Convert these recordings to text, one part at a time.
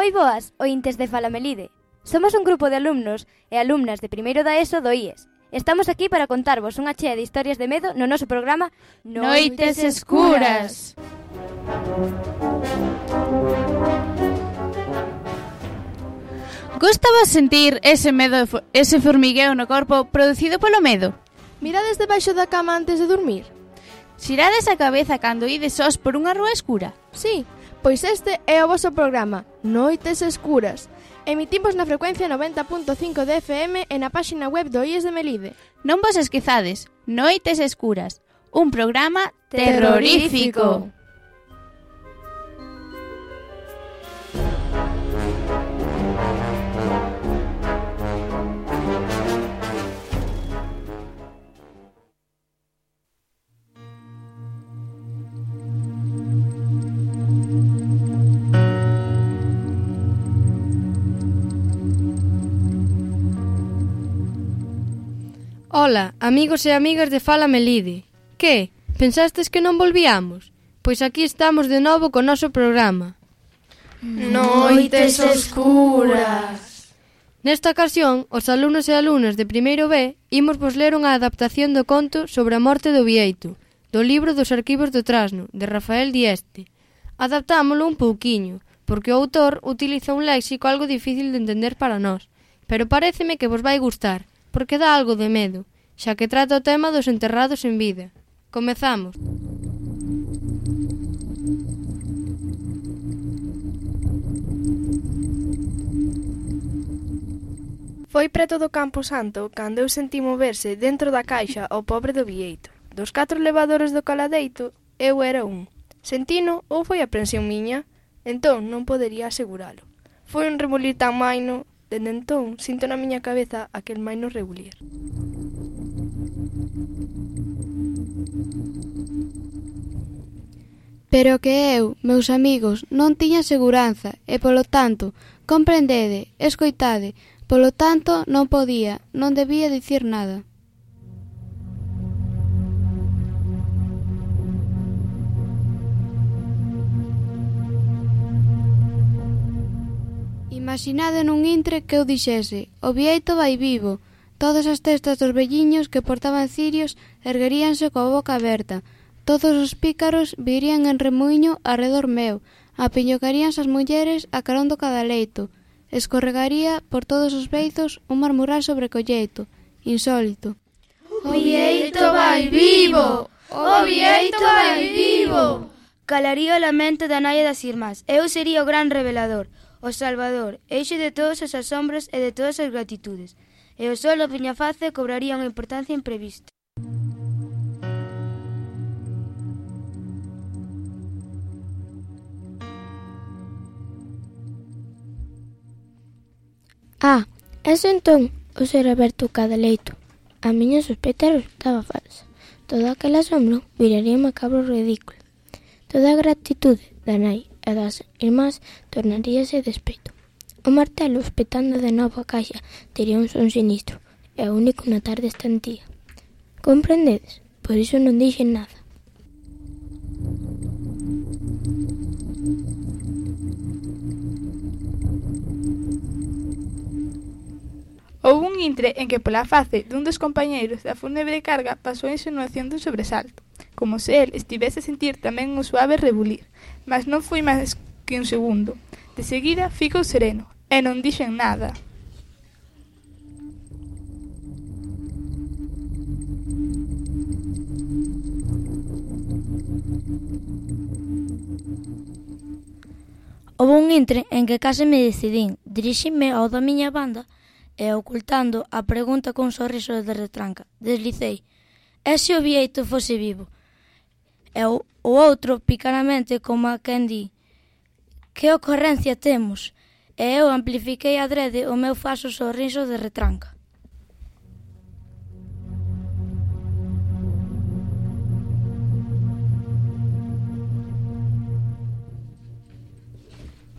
Moi boas, ointes de Falamelide. Somos un grupo de alumnos e alumnas de primeiro da ESO do IES. Estamos aquí para contarvos unha chea de historias de medo no noso programa Noites Escuras. Gustaba sentir ese medo, ese formigueo no corpo producido polo medo? Mirades debaixo da cama antes de dormir? Xirades a cabeza cando ides sós por unha rúa escura? Sí, pois este é o voso programa Noites Escuras. Emitimos na frecuencia 90.5 de FM e na páxina web do IES de Melide. Non vos esquezades, Noites Escuras, un programa terrorífico. Ola, amigos e amigas de Fala Melide. Que? Pensastes que non volvíamos? Pois aquí estamos de novo co noso programa. Noites Oscuras. Nesta ocasión, os alumnos e alumnas de primeiro B imos vos ler unha adaptación do conto sobre a morte do Bieito, do libro dos arquivos do Trasno, de Rafael Dieste. Adaptámolo un pouquiño, porque o autor utiliza un léxico algo difícil de entender para nós, pero paréceme que vos vai gustar, porque dá algo de medo, xa que trata o tema dos enterrados en vida. Comezamos. Foi preto do Campo Santo cando eu senti moverse dentro da caixa o pobre do Bieito. Dos 4 levadores do caladeito, eu era un. Sentino ou foi a aprensión miña? Entón non podería aseguralo. Foi un rebulir tan maino. Dende entón, sinto na miña cabeza aquel maino rebulir. Pero que eu, meus amigos, non tiña seguranza e, polo tanto, comprendede, escoitade, polo tanto, non podía, non debía dicir nada. Imaginade nun intre que eu dixese: o Bieito vai vivo. Todas as testas dos velliños que portaban cirios ergueríanse coa boca aberta. Todos os pícaros virían en remuiño arredor meu. Apiñocaríanse as mulleres a carón do cadaleito. Escorregaría por todos os beizos un marmurar sobre colleito. Insólito. O Bieito vai vivo! O Bieito vai vivo! Calaría o lamento da nai e das irmás. Eu sería o gran revelador, o salvador, eixe de todas as asombros e de todas as gratitudes. E o sol do Peñaface cobraría unha importancia imprevista. Eso entón o ser aberto o cadaleito. A miña sospeita resultaba falsa. Todo aquel asombro viraría macabro ridículo. Toda a gratitude da nai e das irmás tornaríase despeito. O martelo, espetando de novo a caixa, tería un son sinistro, e o único na tarde estantía. Comprendedes? Por iso non dixen nada. Houve un intre en que pola face dun dos compañeiros da fúnebre carga pasou a insinuación dun sobresalto, como se el estivese a sentir tamén un suave rebulir, mas non foi máis que un segundo. De seguida ficou sereno, e non dixen nada. Houve un intre en que case me decidín, dirixime ao da miña banda e, ocultando a pregunta cun sorriso de retranca, deslicei: e se o Bieito fose vivo? E o outro, picaramente, como a quen di: que ocorrencia temos? E eu amplifiquei adrede o meu falso sorriso de retranca.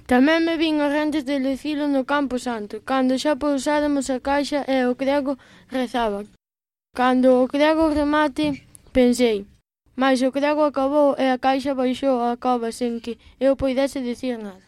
Tamén me vin as gentes de dicilo no Campo Santo, cando xa pousáramos a caixa e o crego rezaba. Cando o crego remate, pensei, mais o crego acabou e a caixa baixou a cova sen que eu poidese dicir nada.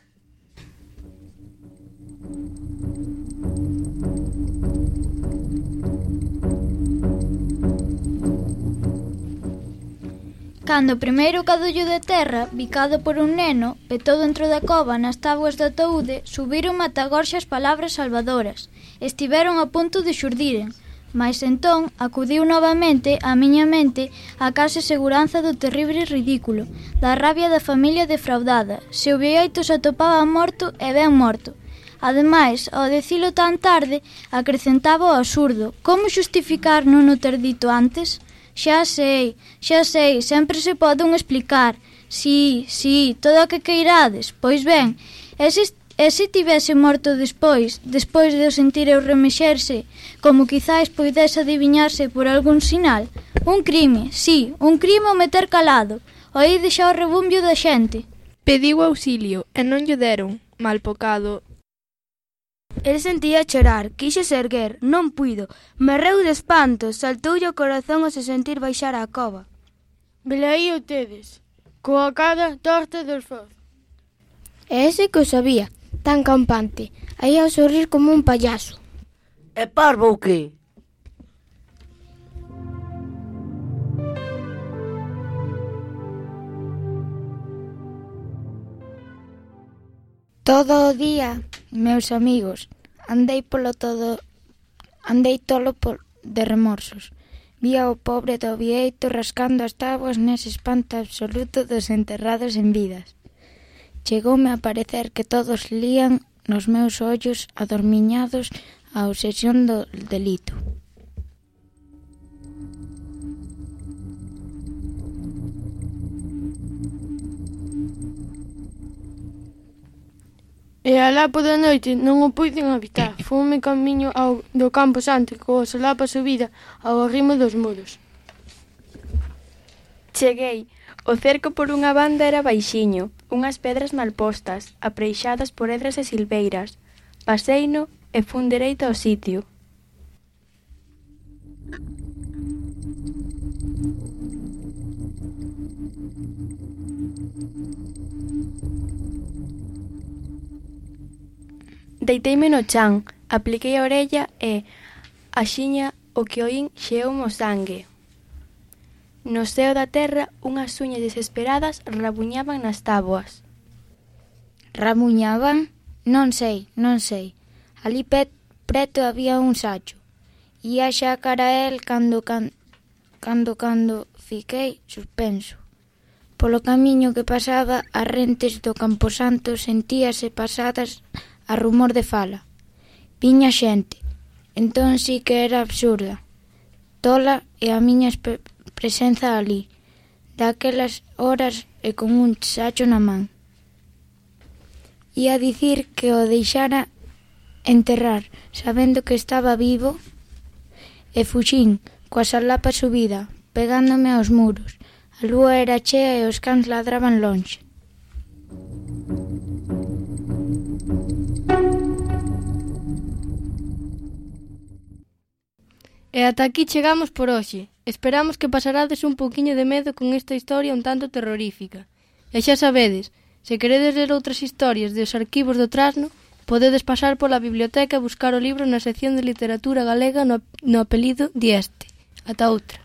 Cando o primeiro cadullo de terra, bicado por un neno, petou dentro da cova nas táboas do ataúde, subiron matagorxas palabras salvadoras. Estiveron a punto de xurdiren, mais entón acudiu novamente á miña mente a case seguranza do terrible ridículo, da rabia da familia defraudada, se o Bieito se atopaba morto e ben morto. Ademais, ao dicilo tan tarde, acrecentaba o absurdo. Como xustificar non o ter dito antes? Xa sei, sempre se poden explicar. Si, todo o que queirades. Pois ben, e se tivese morto despois de o sentir eu remexerse, como quizais poidese adiviñarse por algún sinal? Un crime, sí, un crime o meter calado. Oíde xa o rebumbio da xente. Pediu auxilio e non lle deron, mal pocado. El sentía chorar, quixose erguer, non puido, merreu de espanto, saltoulle o corazón ao se sentir baixar á cova. Velaí o tedes, coa cara torta dos fozos. E ese que o sabía, tan campante, aí a sorrir como un payaso. É parvo ou que? Todo o día, meus amigos, andei tolo de remorsos. Vía o pobre do Bieito rascando as táboas nese espanto absoluto dos enterrados en vidas. Chegoume a parecer que todos lían nos meus ollos adormiñados a obsesión do delito. E alá pola noite non o puiden habitar. Fome camiño do Campo Santo coa solapa subida ao arrimo dos muros. Cheguei. O cerco por unha banda era baixiño, unhas pedras mal postas, apreixadas por edras e silveiras. Paseino e fun dereito ao sitio. Deiteime no chan, apliquei a orella e, axiña o que oín xeoume o sangue. No seo da terra, unhas uñas desesperadas rabuñaban nas táboas. Rabuñaban? Non sei. Ali preto había un sacho. Ia xa cara a el cando fiquei suspenso. Polo camiño que pasaba as rentes do Camposanto sentíase pasadas a rumor de fala. Viña xente. Entón sí que era absurda. Tola e a miña presenza ali, daquelas horas e con un sacho na man. Ia dicir que o deixara enterrar, sabendo que estaba vivo, e fuxín, coa solapa subida, pegándome aos muros. A lúa era chea e os cans ladraban lonxe. E ata aquí chegamos por hoxe. Esperamos que pasarades un pouquiño de medo con esta historia un tanto terrorífica. E xa sabedes, se queredes ler outras historias dos arquivos do Trasno, podedes pasar pola biblioteca e buscar o libro na sección de literatura galega no apelido Dieste. Ata outra.